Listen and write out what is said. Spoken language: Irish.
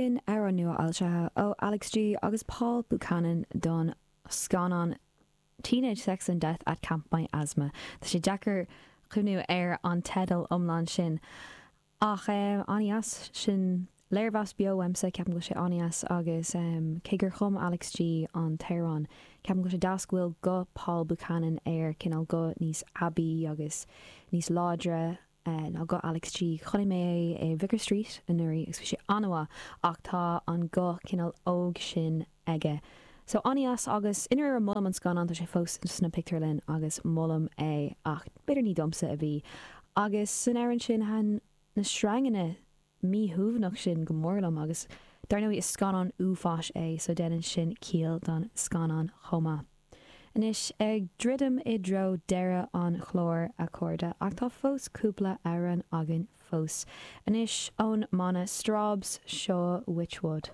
Sin amhrán nua-fhoilsithe ó Alex G agus Paul Buchanan don scannán Teenage Sex and Death at Camp Miasma. Tá sé deacair cuimhniú ar an teideal iomlán sin ach an-dheas. Sin léirmheas beo uaimse, ceapaim go bhfuil sé an-dheas agus cé gur chum Alex G an t-amhrán, ceapaim go bhfuil sé deas go bhfuil guth Paul Buchanan air, cineál guth níos aibí agus níos láidre. ná guth Alex G. Chonaic mé é i Vicar Street anuraidh agus bhí sé an-mhaith ach tá an guth cineál óg sin aige. So an-dheas agus i ndáiríre molaim an scannán, tá sé fós sna pictiúrlanna agus molaim é ach b'fhéidir ní domsa a bhí. Agus san amhrán sin thaitin na sreanganna míshuaimhneach sin go mór liom agus dar ndóigh is scannán uafáis é so déanann sin ciall don scannán chomh maith. Anois, ag druidim i dtreo deireadh an chláir, a chairde, ach tá fós cúpla amhrán againn fós. Anois, ón mbanna Strawbs, seo Witchwood.